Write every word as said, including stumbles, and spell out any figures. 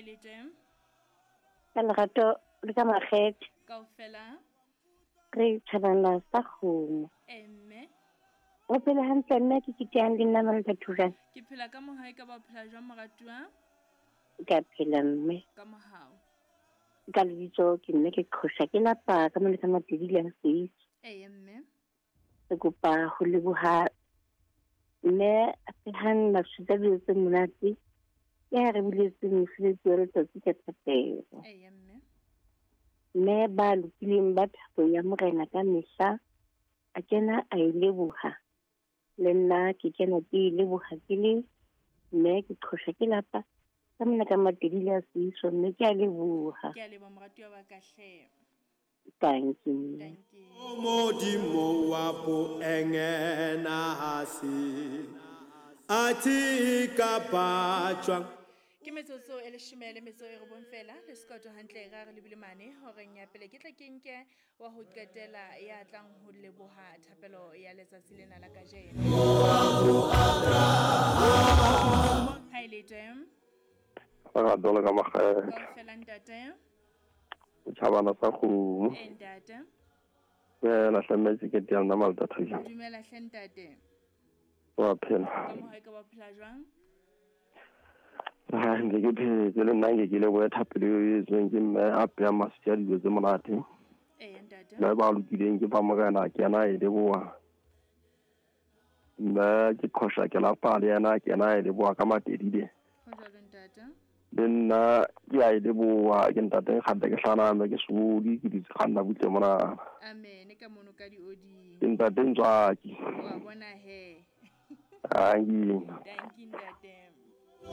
Ha ile teng. Ka lerato le ka makgethe. Kaofela. Re thabana sa kgomo. Emme. O phela hantle mme ke kitang le nna Malta Thusa. Ke phela ka mohau ka ba phela jwang moratuwa? Ka phela mme. Ka mohau. Ka lebitso ke nne ke qhosha ke lapa ka mona ka Matedi le Seitse. Eh mme. Ke kopa ho leboha mme a phehang maswitsa dijo tse monate. Ya re buletse mosebetsi wa letsatsi ka thapelo. Eh mme. Mme ba lokileng ba thabo ya morena ka mehla a kena a e leboha. Le nna ke kena ke e leboha ke le mme ke qhosha ke lapa ka mona ka Matedi le Seitse mme ke a leboha. Ke a leboha moratuwa wa ka hle. Thank you. Thank you. Modimo wa poengena hasi ati ka bachwa. Ke metsotso e leshome le metso e robong fela le sekoto hantle ra re lebile mane horeng ya pele ke tla ke nke wa ho qetela ya tlang ho leboha thapelo ya letsatsi lena la kajeno. Ha ile teng. Ra dola ka makgethe. Kaofela ntate. Thabana sa kgomo. E ntate. Dumela hle mme ke teng nna Malta Thusa. Dumela hle ntate. Wa phela. Ka mohau ka ba phela jwang? Ha ntse ke phetse le nna ke ke lebohe thapelo e etsweng ke mme a pheha maswitsi a dijo tse monate. Eh ntate. Mme ba lokileng ke ba morena ke yena e leboha. Mme ke qhosha ke lapa le yena ke yena e leboha ka Matedi. Ho jwalo ntate. Le nna ke a e leboha ke ntate kgante ke hlana mme ke sodi ke ditse kganna butle mona. Amen ka mono ka dioding. Ke ntate Ntswaki. Wa bona he. Thank you. Thank you ntate.